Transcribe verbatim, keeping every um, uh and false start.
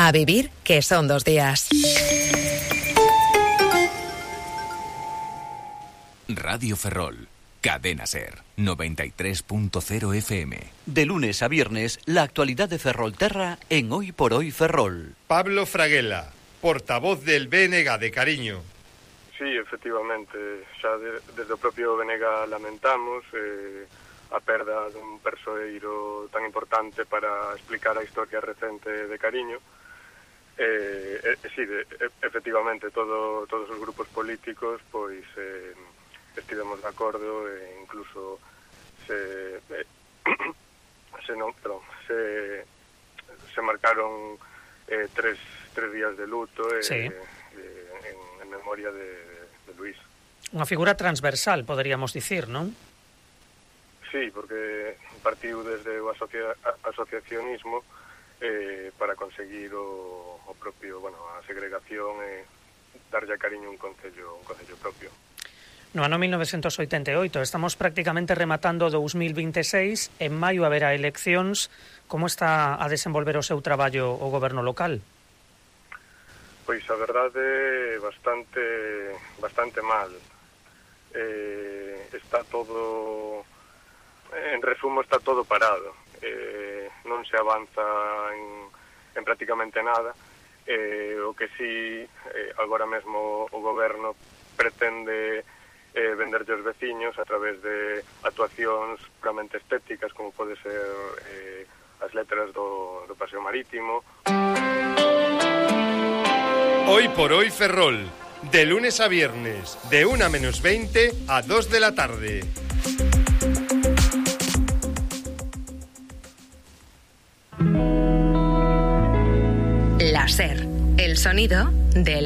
A vivir, que son dos días. Radio Ferrol, Cadena Ser, noventa y tres punto cero F M. De lunes a viernes, la actualidad de Ferrolterra en Hoy por Hoy Ferrol. Pablo Fraguela, portavoz del B N G de Cariño. Sí, efectivamente, xa de, desde o propio B N G lamentamos eh, a perda dun persoeiro tan importante para explicar a historia recente de Cariño. Eh, eh, sí, de, efectivamente, todo, todos os grupos políticos pois eh, estivemos de acordo e incluso se eh, se non, perdón, se se marcaron eh, tres, tres días de luto eh, sí. eh, en, en memoria de, de Luís. Unha figura transversal, poderíamos dicir, non? Sí, porque partiu desde o asocia, asociacionismo eh, para conseguir o, o propio, bueno, a segregación e darlle a Cariño un concello, un concello propio. No ano mil novecentos oitenta e oito, estamos prácticamente rematando dous mil vinte e seis, en maio haberá eleccións. Como está a desenvolver o seu traballo o goberno local? Pois a verdade bastante bastante mal. Eh, está todo, en resumo, está todo parado. Eh, non se avanza en, en prácticamente nada. Eh, o que sí, eh, agora mesmo o goberno pretende eh, venderlle aos veciños a través de actuacións puramente estéticas, como pode ser eh, as letras do, do Paseo Marítimo. Hoy por Hoy Ferrol, de lunes a viernes, de una menos veinte a dos de la tarde. La Ser, el sonido de la